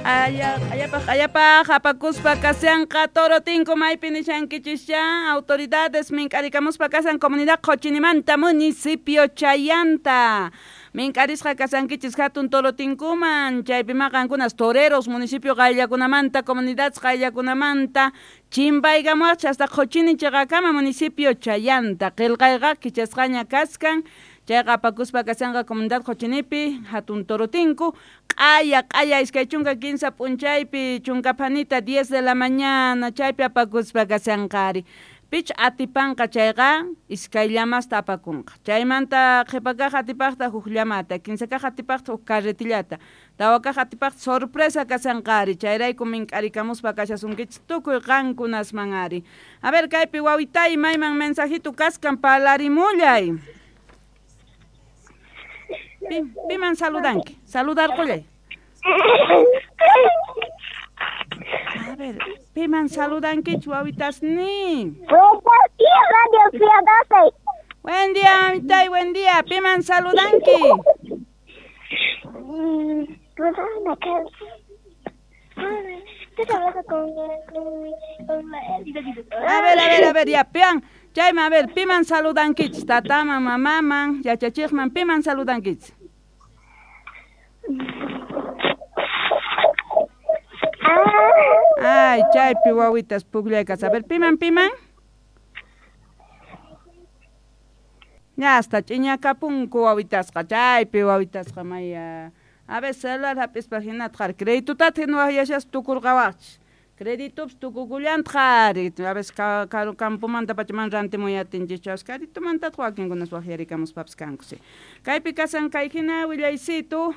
Q'aya, q'ayapaq apakuspa kashanqa toro tinku maypi nishankichischa autoridades mink'arikamuspa kasan comunidad Qochinimanta municipio Chayanta mink'arisqa kasankichis hatun toro tinkuman chaypi maqankunas toreros municipio qayllakunamanta comunidades qayllakunamanta chimpaykamuwaqchis hasta Qochini chiqakama municipio Chayanta qillqayqa kichasqaña kaskan chayqa apakuspa kashanqa comunidad Qochinipi hatun toro tinku q'aya q'aya 23 p'unchaypi chunkaphanita 10 de la mañana chaypi apakuspa kashanqa ari pich atipanqa chayqa iskay llamasta apakunqa chaymanta qhipakaq atipaqta huk llamata kinsakaq atipaqta huk carretillata tawakaq atipaqta sorpresa kashanqa ari chayrayku mink'arikamuspa kashasunkichis tukuy qankunasman ari a ver kaypi wawitay mayman mensajito kaskan palarimullay piman saludanki saludarqullay a ver piman saludankichis wawitasnin. Buenos días, Radio Pío 12. Buen día, mamitay, buen día. Piman saludanki. A ver, a ver, a ver, ya, pian. Chayman, a ver, piman saludankichis. Tataman, mamaman, yachachiqman, piman saludankichis. Ay, chaypi wawitas pukllaykas. A ver, piman, piman. Ya hasta ch'iñakapunku wawitasqa, chaypi wawitasqa maya. A ver, celular hap'ispa hinata qhari. Creditutata hina waqyashaspa tukurqawaqchis. Creditupis tukukullantaq ari. A veces campomanta pacha mana rantimuy atinchischu. Creditumantataq wakinkunas waqyarikamuspapis kanku. Sí. Kaypi kasan kay hina willaysitu.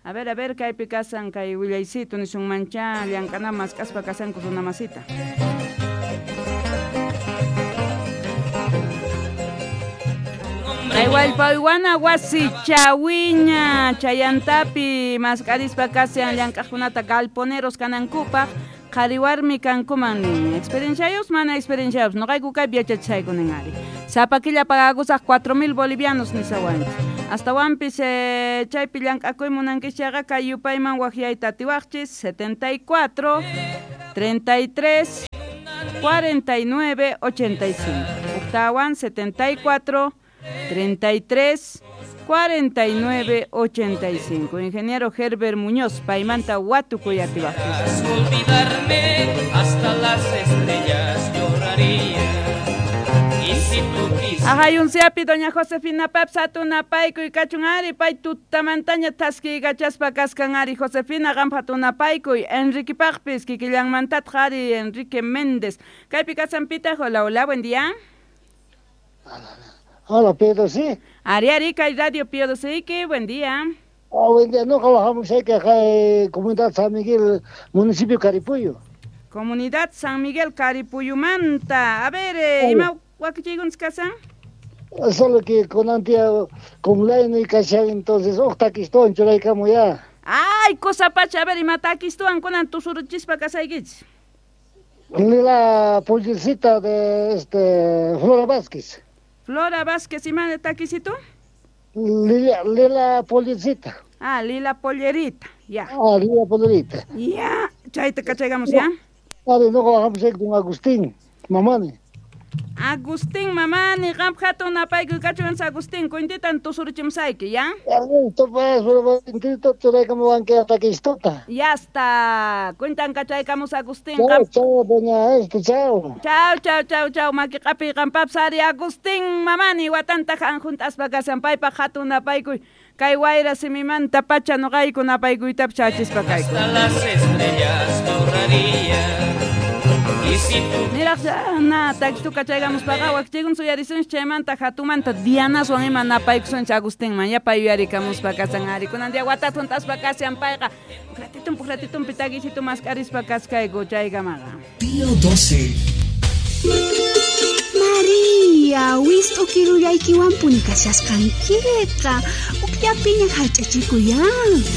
A ver, kaypi kasan kay willaysitu nisunmancha llank'ana mask'aspa kasanku runa masita. Kay wallpaywana wasi chawiña chayantapi mask'arispa kashan llank'aqkunata galponeros kanankupaq qhari warmi kankuman nin experienciayos mana experienciayos noqayku kaypi yachachishayku nin ari sapa killa pagakusaq 4000 bolivianos nisawanchis astawanpis chaypi llank'akuy munankichis chayqa kay yupayman waqyayta atiwaqchis 74 33 49 85 Octawan 74 33 49 85. Ingeniero Herbert Muñoz, paymanta watukuy atiwaqchis. Olvidarme hasta las estrellas lloraría. Y si tú quisieras. Ajayunsiapi doña Josefina Paps hatunapaykuy kachun ari pay tutamantaña thaskiykachaspa kaskan ari Josefina qampa hatunapaykuy Enrique paqpis kikillanmantataq ari Enrique Méndez. Kaypi kasanpitaq, hola, hola, buen día. Hola, Pedro, sí. Ari, ari, kay Radio Pío 12, buen día. Oh, buen día, no, trabajamos aquí en Comunidad San Miguel, municipio Caripuyo. Comunidad San Miguel, Caripuyumanta. A ver, ima wakichiykunchis kasan? Solo que con antia, con laino y cachai, entonces, oh, taquistuan, churaykamu ya. Ay, cosa pacha, a ver, ima taquistuan, kunan tusuruchispa kasaykichis. La pollercita de Flora Vázquez. Flora Vázquez, ¿y más de taquisito? Lila, Lila Pollercita. Ah, Lila Pollerita, ya. Ah, Lila Pollerita. Ya, chayta cachaygamos, ya. A ver, no bajamos ahí con Agustín, Mamani. Agustín, Mamani, qampa hatun napaykuy kachuwanchis Agustín, kuintitan tusuruchimsayki, ya? Listo, pues, pero intito churaykamuwan kay taquistota. Ya está, cuentan cachaykamos Agustín. Chao, chao, doña chao. Chao, chao, chao, chao, maki q'apiy qampapis ari Agustín, Mamani, watanta junt'aspa kasan paypaq hatun napaykuy kay wayra simimanta pacha noqayku napaykuytapas chachispa kayku. Hasta las estrellas lloraría. Niraq na takistu kachaykamuspaqa wakichikun suyarisunchis chaymanta hatumanta Dianaswan ima napaykusunchis Agustinman yapa yuyarikamuspa kasan ari kunan día watata junt'aspa kashan payqa puqratitumpi takisitu mask'arispa kaskayku chaykamaqa. Pío 12. María. Ya, wist'u kirullaykiwanpuni kashasqankiqa. Ukllapiña hallch'achikuya.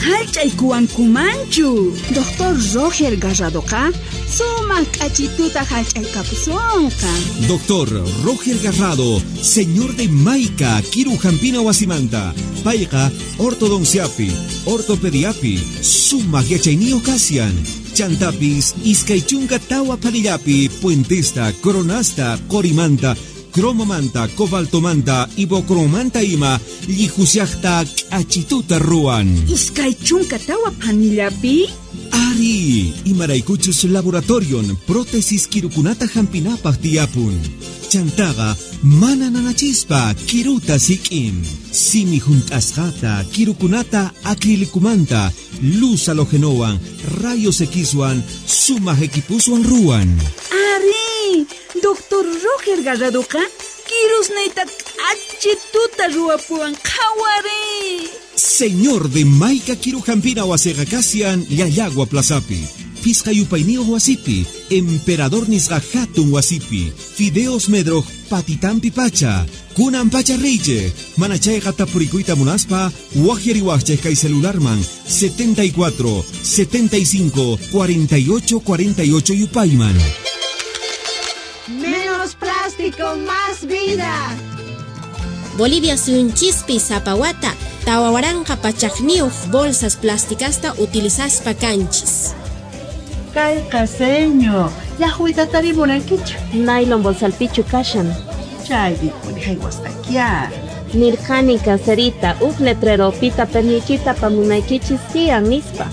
Hallch'aykuwankumanchu. Doctor Roger Garradoqa sumaq k'achituta hallch'aykapusunqa. Doctor Roger Garrado, señor de Maica, Kiru Jampina Wasimanta, Payqa, ortodonciapi, ortopediapi, sumaq yachayniyuq kasian. Chantapis, iskay chunka tawa phanillapi, puentesta, coronasta, qorimanta, cromomanta, cobaltomanta, ibocromanta ima, llijusiaqta k'achituta ruwan. Iskay chunka tawa phanillapi? Ari, imaraykuchus laboratorion prótesis kirukunata hampinapaq tiyapun. Chantaqa mana nanachispa kiruta sik'in. Simi hunt'asqata kirukunata acrilicumanta, luz halogenowan, rayos Xwan, sumaq equipuswan ruwan. Ari, Doctor Roger Garradoqa kirusniyta k'achituta ruwapuwan qhawari. Señor de Maica Kirujampina wasiqa kasian Llallagua Plazapi. Pisqa yupayniyuq wasipi, Emperador nisqa hatun wasipi, Fideos Medroj patitampi pacha, kunan pacha riychej, mana chayqa tapurikuyta munaspa, waqyariwaqchej kay celularman 74 75 48 48 yupayman. Menos plástico, más vida. Bolivia suyunchispi sapa wata tawa waranqa pachaqniyuq bolsas plásticasta utilizaspa kanchis. Kayqa seño, llaqwita tarimunankichu. Nylon bolsalpichu kashan. Chaypipuni haywasqakiya. Nirqani caserita, uj letreropita perniykita apamunaykichis tiyan nispa.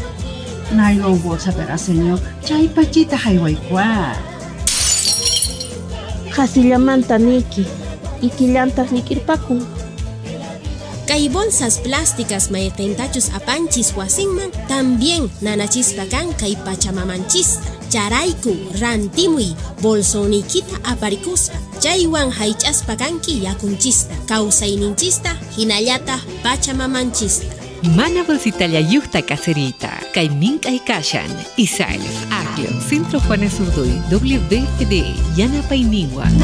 Nylon bolsapiqa seño, chay pachita haywaykuwa. Qasillamanta niyki, ikillantaq llik'irpakun. Kay bolsas plásticas mayqintachus apanchis wasinman también nanachispa kan kay pachamamanchista. Charayku rantimuy bolsoniykita aparikuspa. Chaywan haych'aspa kanki yakunchista, kawsayninchista, hinallataq pachamamanchista. Mana bolsitallayuqta caserita, kay mink'ay kashan, Isalf, Aglo, Centro Juanes Urduy, WBFD, Yanapayniwan.